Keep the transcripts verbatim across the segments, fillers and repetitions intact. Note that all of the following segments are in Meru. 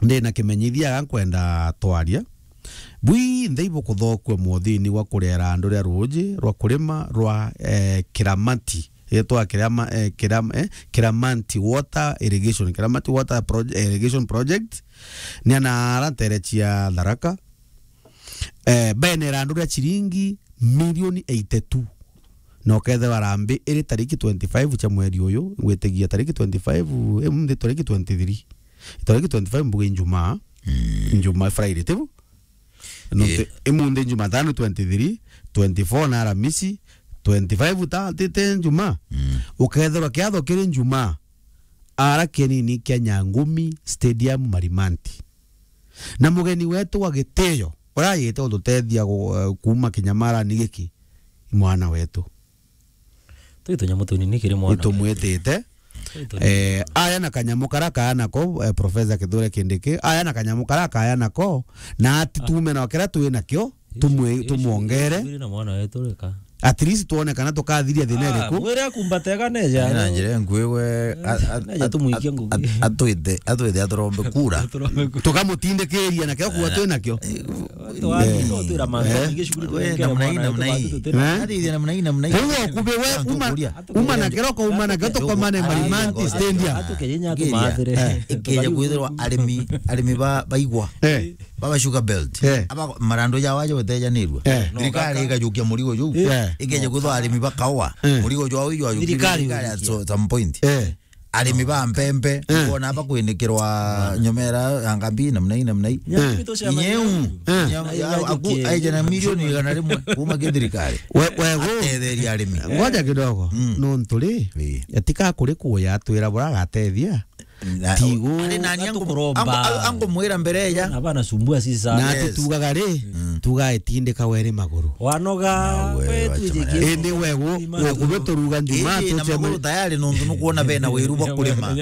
Ndi na kimenyithia ga nkwenda twaria. Bwinthe ibukuthokua mwothini gwa kuriera andu ria ruuji rwa kurima rwa, eh, Kiramati. Yetwa Kirama-, eh, Kiram-, eh, Kiramanti Water Irrigation, Kiramati Water Proj-, Irrigation Project. Ni ana ara ntere cia Tharaka. Eh, benera andu ria ciringi milioni eighty-two. Na ukethirwa rambi iri tariki twenty-five cia mweri uyu, ngwitigia tariki twenty-five, eh, munthi tariki twenty-three. Tariki twenty-five mbuge Ijumaa. Mm. Ijumaa, Friday, tibu? No, ii. Te, imunthi Jumatano twenty-three, twenty-four na Aramisi, twenty-five ta, ti, ti Jumaa. Mm. Ukethirwa kiatho kiri Jumaa, ara kienini kia Nyangumi Stadium Marimanti. Na mugeni wetu wa gitio, uria ajite gututethia gu-, eh, kuuma kinyamarani giki, i mwana wetu. Twi tunyamu tunini kiri mwana wetu. Itumwitite. Twi tunini. Eh, aya na kanyamu karia kaana ko, eh, Professor Kithure Kindiki, aya na kanyamu karia kaaya nako, na ati tume na kiria twi nakio, tumwe-, tumwongere. Twi na mwana wetu reka. At least tuone kana tukathiria thina iriku. Mwire akumbate ganeja. Na njira nkui we, a-, a-, neja a-, tumuikie a-, ngugi. A-, atwite, atwite aturombe kura. Aturombe kura. Tukamutindikiria na kio kuwa twi nakio. Watu wa, eh, no twira mantu, eh, mingi shukuru. We, tuengere namna hii, mwana namna wetu hii. Batu tutina. Eh? Hadi namna hii, namna hii. Kwa hiyo, kube we, uma, uma na kiroko, uma na kiroko, tukomane Marimanti Stadium. Atukeje nya tumathire. Eh. Ikeje kwithirwa arimi, arimi ba, baigwa. Eh. Baba Sugar Belt. Eh. Aba marandu ja waje gutejanirua. Eh. Thirikari ikajukia murigo juu. Eh. Ikeje kwithirwa arimi ba kawa. Eh. Murigo jwao ijo ajukia thirikari at so-, some point. Eh. Arimi ba mpempe, eh, bona aba kwinikirwa nyomera ya ngambi namna hii, namna hii. Nyambi tucemania. Nyeu. Eh. Nyau, na aku, ibajukie. Aije na milioni igana rimwe kuma ki thirikari. We, we, gu-, atetheria arimi. Ngoja kidogo. Mm. Nontu ri, ii, atika kuri kuya atwira bura agatethia. Na, tigu. Ari nani angu-, angukuromba. Angu-, angumwira mbere ya. Na bana sumbua sisa. Na, yes, tutugaga ri, mm, tuga itindika weri maguru. Wanoga, na we, we wacha tujiki maneno. Indi we gu-, ima we na kubeturuga Jumaa. Indi na tuchema- maguru tayari nontu nukuona bena wiru bwa kurima.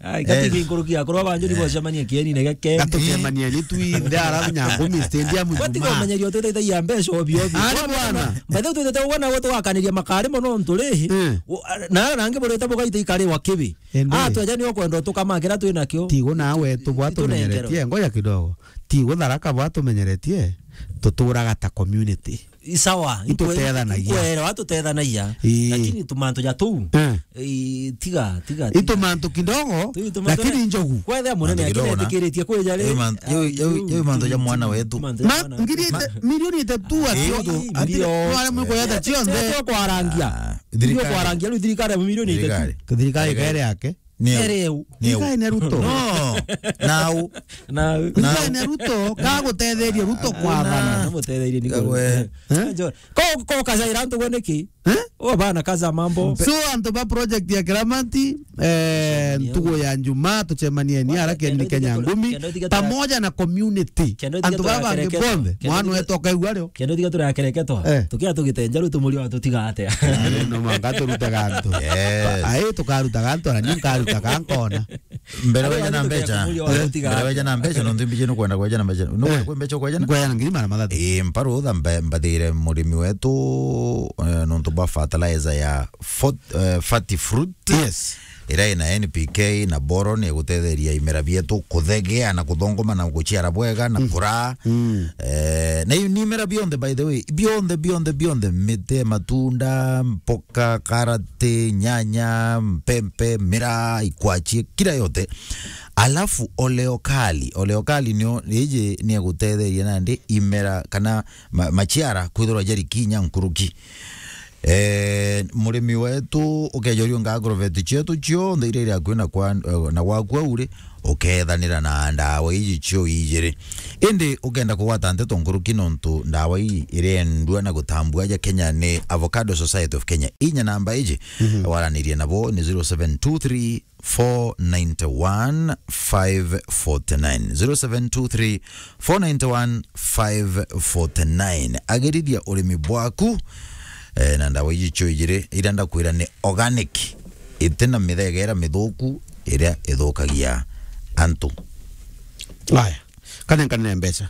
Ai, gati, eh, nkuruki akorwa banjuri, eh, bocemania kieni na geke. Gatucemania ni twinthe ara Nyangumi Stadium Jumaa. Watiga umenyeria utetagia mbeca obio obio. Ari bwana. Mbathe twitete ugwa na gwe tugakaniria makari mono nturi. Eh. U-, a-, na ara nangi burite bugaita ikari wa kibi. Indi. Ah, tweja ni ukwenda utukamakira twi nakio. Tigo nawe tu bwa tumenyeretie. Ngoja kidogo. Tigo Tharaka bwa tumenyeretie. Tuturaga ta community. I sawa, itutethanagia. Ikwere, itutethanagia. Ii. Lakini tumantu ja tuu, eh, ii, tiga, tiga, tiga. Itumantu kidogo, tu itumantu lakini njogu. Kwethea munene mantu kidogo na akiretikiritie kwija ri. Yo man-, yo, yo, yo mantu ja mwana wetu. Mantu ja ma-, mwana ngiri wetu. Ite-, milioni itatu atio. Ii, ati, milioni. Wale mwiko yata cionthe. Tio kwarangia. Ah, thirikari. Tio kwarangia, riu thirikari ya milioni itatu. Thirikari. Thirikari kere yake. Neu. Neu. Thirikari ni Ruto. No. Nau. Nau. Thirikari ni Ruto, ka gutetheria Ruto kwathana. Na mutetherie ni. Kagwe. Eh? Ko, ko kajaira antu gwe niki? Eh? O bana kaza mambo. So antu ba project ya Kiramati, eh, ntugu ya Njumaa, tucemanie ni ara kieni Kenya ngumi, pamoja na community. Antu ba bangi bonthe, mwana wetu akaigua rio. Kendo tiga turakereketwa. Eh. Tukia tugitenja riu tumuri wa tutiga atia. Eh, no manga turutaga antu. Yes. Ai, tukarutaga antu, na ni nkarutaga nkona. Mbere weja na mbeca. Mbere weja na mbeca, nontu mbiji nukwenda kweja na mbeca. Nukwenda kwe mbeca kweja na? Nkwenda ngiri magana mathatu. Ii, mparu tha mbe-, mbathire murimi wetu, eh, nontu bwa fertilizer ya fort-, eh, Fati Fruit. Yes. Iria ina N P K na boron igutetheria imera bietu kuthegea na kuthongoma na guciara bwega na kuraa. Mm. Eh, na i-, ni imera bionthe, by the way, bionthe, bionthe, bionthe, miti, matunda, mpoka, karati, nyanya, mpempe, miraa, ikwachi, kila yote. Alafu oleokali, oleokali nio, iji ni egutetheria nandi imera kana ma-, machiara kwithirwa jari kinya nkuruki. Eh, murimi wetu ukeja uriunga agrovet cietu cionthe iria iri akui na kwa, eh, na gwaku au ri, ukethanira na ndawa iji cio ijiri. Indi ukenda kugwata nteto nkuruki nontu ndawa ii irendua na gutambua aja Kenya ni Avocado Society of Kenya. Inya namba iji, mhm, waranirie nabo ni zero seven two three, four nine one, five forty nine. Zero seven two three, four nine one, five forty nine. Agirithia urimi bwaku, eh, na ndawa iji cio ijiri, iria ndakwira ni organic, itina mithegera mithuku iria ithukagia antu. Aya, kane, kane mbeca.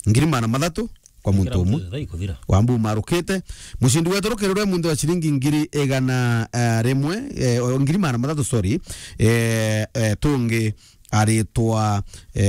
Ngiri magana mathatu kwa muntu umwe. Thaa ikuthira. Wambu umarukite. Mucindi wetu rukirure muntu wa ciringi ngiri igana, eh, rimwe, eh, o, ngiri magana mathatu, sorry. Eh, eh, tungi aritwa, eh,